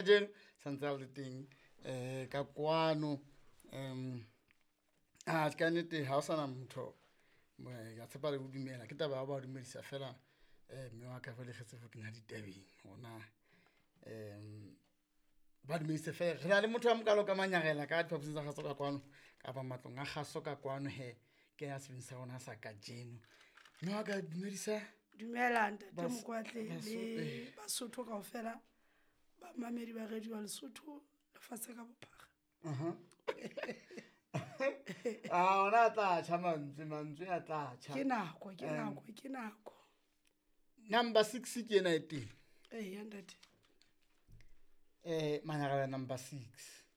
Kajeno santse a le teng ka kwano. A ka nnete ha o sana motho, ke a tshepa le ho dumela. Ke taba ya ho ba dumedisa feela mme wa ka jwale re tsebe ho kena ditabeng hore na ba dumedise feela. Re na le motho a mokalo ka manyarela ka diphaposing tsa kgaso ka kwano kapa matlong a kgaso ka kwano hee. Ke ya sebini sa rona sa kajeno. Mme wa ka dumedisa. Dumela ntate Mokwatle le Basotho kaofela, bamamedi ba radio ya Lesotho lefatshe ka bophara. A ona a tla tjha mantswe, mantswe a tla tjha. Ke nako, ke nako, ke nako. Number 6 ke ena e teng. Eya ntate. Manyarela number 6.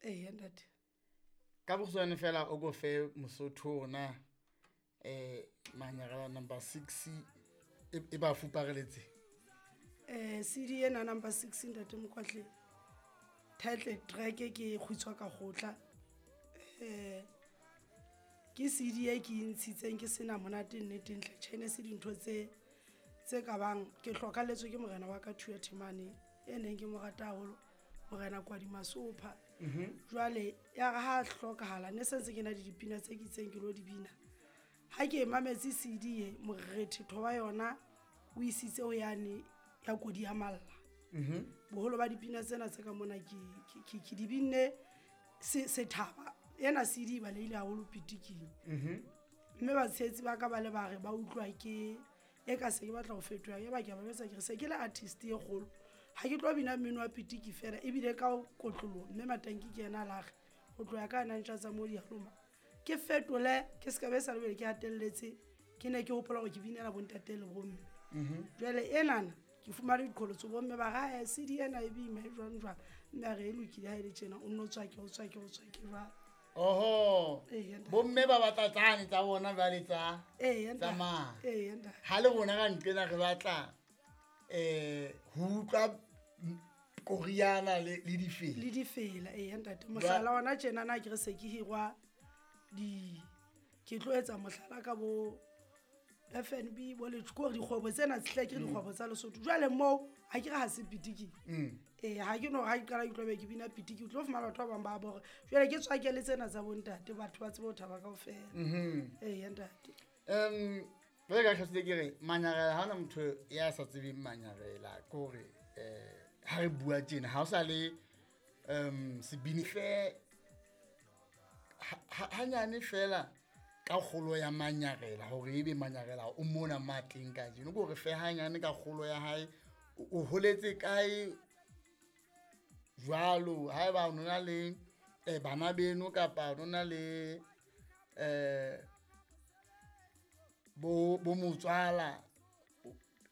Eya ntate. Ka bokgutshwane fela o ko fe Mosotho ona Manyarela number 6 e ba fupareletse. CD ena number 6 ntate Mokwatle. Title track ke kgutshwa ka kgotla. Ke CD e ke ntshitseng ke sena monate nnete ntle. Tjhe, ne se dintho tse ka bang ke hlokalletswe ke morena wa ka Thuya Themane e neng ke mo rata haholo, morena Kwadi Masopha. Jwale ya re ha hlokahala ne sentse ke na le dipina tse ke itseng ke lo di bina. Ha ke mametse CD e morethetho wa yona o isitse ho yane ya kodi ya malla. Boholo ba dipina tsena tse ka mona ke di binne sethaba. Ena CD ba leile haholo pitiking. Mme batshehetsi ba ka ba le ba re ba utlwa ke e ka se ke batla ho fetoha, ya ba ke a ba jwetsa ke re se ke le artist e kgolo. Ha ke tlo bina mmino wa pitiki fela ebile ka kotloloho, mme Matanki ke yena a la re ho tloha ka na ntja tsa mo dialoma. Ke fetole ke ska be sa lebele ke hatelletse, ke ne ke hopola hore ke binela bontate le bomme. Jwale enana ke fumane diqholotso, bomme ba re, ha CD ena e boima e jwang jwang, mme a re e lokile ha e le tjena, o nno tswake, o tswake, o tswake jwalo. Oho. Eya, ntate. Bomme ba batla tsane tsa bona jwale tsa Eya, ntate. tsa mane. Eya, ntate. Ha le rona ka nqena re batla ho utlwa koriana le difela. Le difela, eya, ntate. Mohlala ona tjena na ke re se ke hirwa di, ke tlo etsa mohlala ka bo FNB, bo Letho, ke hore dikgwebo tsena hle ke dikgwebo tsa Lesotho. Jwale moo ha ke re ha se pitiki. Ha ke no ha ke qala ke tlo be ke bina pitiki, o tlo fumana batho ba bang ba bore. Jwale ke tswake le tsena tsa bontate, batho ba tsebe ho thaba kaofela. Eya, ntate. Jwale ka tlhasetse ke re manyarela, ha hona motho ya sa tsebeng manyarela, ke hore ha re bua tjena ha o sa le sebini fe hanyane fela ka kgolo ya manyarela, hore ebe manyarela o mona matleng kajeno, ke hore fe hanyane ka kgolo ya hae, o holetse kae jwalo, haeba o nona le bana beno kapa o nona le bo motswala,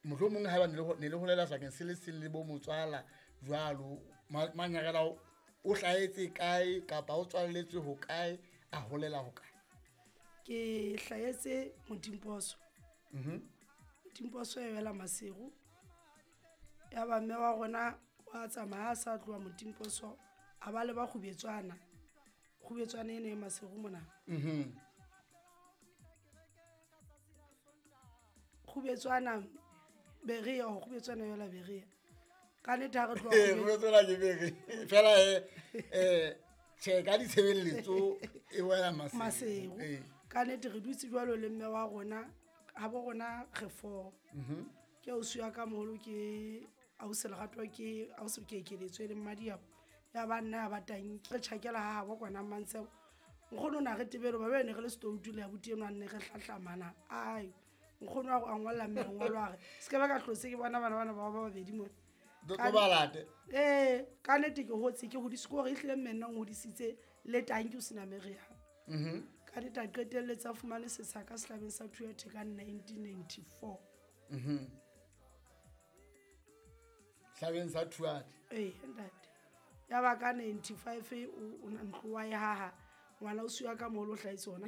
mohlomong haeba ne le holela sebakeng se le seng le bo motswala jwalo, manyarela o hlahetse kae kapa o tswalletswe ho kae, a holela ho kae? Ke hlahetse Motimposo. Motimposo e wela Maseru. Ya ba mme wa rona wa tsamaya a sa tloha Motimposo, a ba le ba Kgubetswana. Kgubetswana ene e Maseru mona. Kgubetswana Berea, ho Kgubetswana yola Berea. Ka nnete ha re tloha Ee, Kgubetswana ke Berea. Fela, tjhe, ka ditshebeletso e wela Maseru. Maseru. Ee. Ka nnete re dutse jwalo le mme wa rona, ha bo rona re four. Ke ausi wa ka moholo ke ausi Lerato, ke ausi ke ekeletswe le Mmadiabo. Ya ba nna ya ba tanki. Re tjhakela ha habo kwana Mmantshebo. Nkgono o na re tebele, ba be ne re le setoutu le abuti enwa ne re hlahlamana. Ai, nkgono a ngolla mme lengolo a re, se ke ba ka hlotse ke bona bana bana ba ba babedi mona. Tlo ba late. Ee, ka nnete ke hotse, ke hodisitse, ke hore ehlile mme nna o nhodisitse le tanki o sena meriana. Ka nnete a qetelletse a fumane setsha ka sehlabeng sa Thuathe ka 1994. Sehlabeng sa Thuathe. Ee, ntate. Ya ba ka 95 o ntlo wa e haha, ngwana o siwa ka moholo o hlahetse hona.